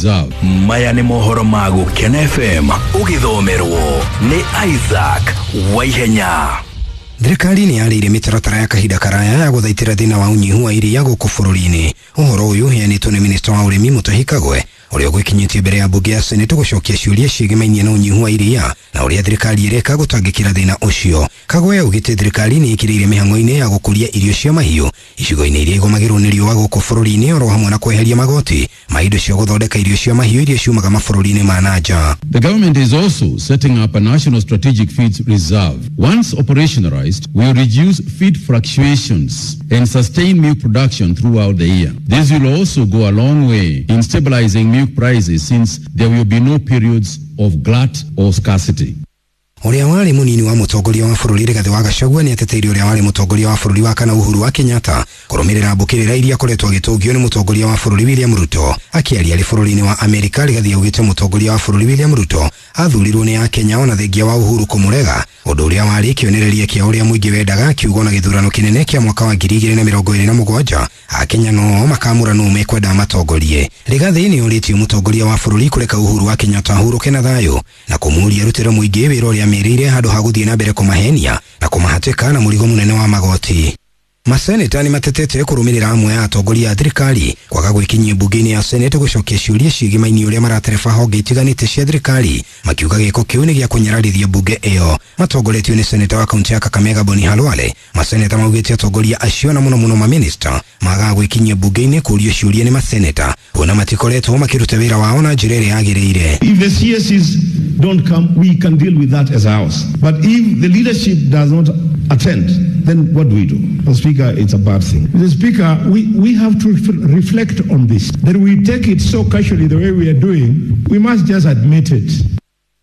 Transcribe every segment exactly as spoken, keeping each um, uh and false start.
reserve. Maya nĩ mohoro ma Gũkena F M ũgĩthomerwo nĩ Isaac Waihenya. Thirikari nĩ yarĩire mĩtaratara ya kahinda karaya ya gũthaitĩra thĩna wa ũnyihu wa iria gũkũ bũrũri-inĩ. Ũhoro ũyũ ũheanĩtwo nĩ minista wa ũrĩmi Mutahi Kagwe ũrĩa ũgwĩkinyĩtie mbere ya mbunge ya Senate gũcokia ciũria ciĩgĩmainie na ũnyihu wa iria na ũrĩa thirikari ĩreka gũtangĩkĩra thĩna ũcio. Kagwe augĩte thirikari nĩ ĩkĩrĩire mĩhang'o-inĩ ya gũkũria irio cia mahiũ icigo-inĩ iria igũmagĩrwo nĩ riũa gũkũ bũrũri-inĩ oro hamwe na kweheria magoti ma indo cia gũthondeka irio cia mahiũ iria ciumaga mabũrũri-inĩ ma na nja. The government is also setting up a national strategic feeds reserve. Once operationalized, we will reduce feed fluctuations and sustain milk production throughout the year. This will also go a long way in stabilizing milk prices since there will be no periods of glut or scarcity. Ũrĩa warĩ mũnini wa mũtongoria wa bũrũri Rigathĩ wa Gachagua nĩ ateteire ũrĩa warĩ mũtongoria wa bũrũri wa kana Uhuru wa Kenyatta kũrũmĩrĩra mbũkĩrĩra iria akoretwo agĩtũngio nĩ mũtongoria wa bũrũri William Ruto. Akĩaria arĩ bũrũri-inĩ wa Amerika, Rigathĩ augĩte mũtongoria wa bũrũri William Ruto athurirwo nĩ Akenya ona thengia wa Uhuru kũmũrega, ũndũ ũrĩa warĩ kĩonereria kĩa ũrĩa mũingĩ wendaga, akiuga na gĩthurano kĩnene kĩa mwaka wa ngiri igĩrĩ na mĩrongo ĩrĩ na mũgwanja Akenya no makamũra nũ mekwenda matongorie. Rigathĩ nĩ orĩtie mũtongoria wa bũrũri kũreka Uhuru wa Kenyatta ahurũke na thayũ na kũmũũria arutĩre mũingĩ wĩra ũrĩa merĩire handũ ha gũthiĩ na mbere kũmahenia na kũmahatĩka na mũrigo mũnene wa magoti. Maseneta nĩ matetete kũrũmĩrĩra amwe a atongoria a thirikari kwaga gwĩkinyia mbunge-inĩ ya Senate gũcokia ciũria ciĩgĩmainie ũrĩa maratereba honge itiganĩte cia thirikari, makiuga gĩko kĩu nĩ gĩa kũnyararithia mbunge ĩyo. Matongoretio nĩ seneta wa kaunti ya Kakamega Boni Khalwale, maseneta maugĩte atongoria acio na mũno mũno maminista magaga gwĩkinyia mbunge-inĩ kũũrio ciũria nĩ maseneta kuona matikoretwo makĩruta wĩra wao na njĩra ĩrĩa yagĩrĩire. If the C Ss don't come, we can deal with that as a house. But if the leadership does not attend, then what do we do? Mister Speaker, it's a bad thing. Mister Speaker, we, we have to reflect on this. That we take it so casually the way we are doing, we must just admit it.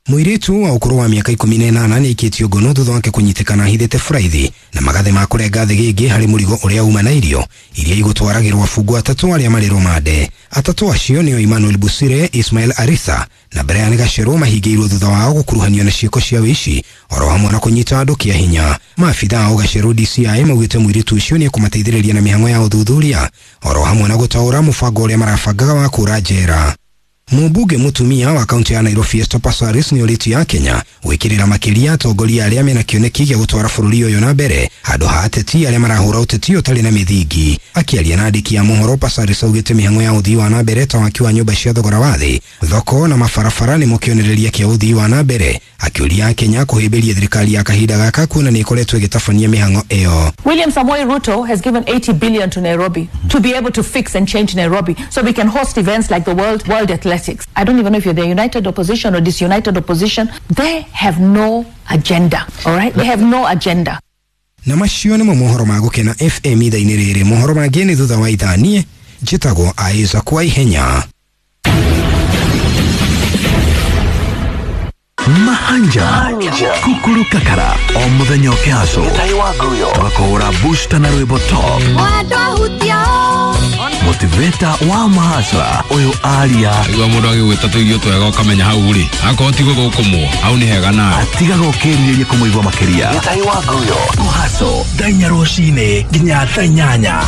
Mũirĩtu wa ũkũrũ wa mĩaka ikũmi na ĩnana nĩ aikĩtio ngono thutha wake kũnyitĩkana ahithĩte buraithi na magathĩ ma kũrenga thĩgĩngĩ harĩ mũrigo ũrĩa uma na irio iria igũtwaragĩrwo abungwa atatũ arĩa marĩ rũmande. Atatũ acio nĩo Emmanuel Busire, Ismail Arisa na Brian Gacerwo mahingĩirwo thutha wao gũkuruhanio na ciĩko cia wĩici oro hamwe na kũnyita andũ kĩa hinya. Maabitha a Gacerwo D C I maugĩte mũirĩtu ũcio nĩ ekũmateithĩrĩria na mĩhang'o ya ũthuthuria oro hamwe na gũtaũra mũbango ũrĩa marabangaga wa kũra njera. Mũmbunge mũtumia wa kaunti ya Nairobi Esther Passaris nĩ orĩtie ya Kenya gwĩkĩrĩra makĩria atongoria arĩa mena kĩoneki gĩa gũtwara bũrũri ũyũ na mbere handũ ha ateti arĩa marahũra ũteti ũtarĩ na mĩthingi. Akĩaria na andĩki a mohoro, Passaris augĩte mĩhang'o ya ũthii wa na mbere ta waki wa nyũmba cia thogora wa thĩ, thoko na mabarabara nĩmo kĩonereria kĩa ũthii wa na mbere, akĩũria Kenya kũhĩmbĩria thirikari ya kahinda gaka kuona nĩ ĩkoretwo ĩgĩtabania mĩhang'o ĩyo. William Samoei Ruto has given eighty billion to Nairobi to be able to fix and change Nairobi so we can host events like the World, World Athletics. I don't even know if you're the united opposition or disunited opposition. They have no agenda, all right? They have no agenda. Na macio nĩmo mohoro ma Gũkena F M ithaa-inĩ rĩrĩ. Mohoro mangĩ nĩ thutha wa ithaa. Niĩ njĩtagwo Isaac Waihenya. Mahanja Kukuru Kakara o muthenya ũkĩhacwo tũgakũhũra booster na rwĩmbo top motivator wa mahasra ũyũ aria igua mũndũ agĩgwĩta tũirio twega ũkamenya hau rĩ akorwo ti gũthũkũmwo hau nĩ hega nawe atigaga ũkĩrirĩria kũmũigua makĩria. Gĩtai wa Nguyo kũhacwo thaa inya rũcinĩ nginya thaa inyanya.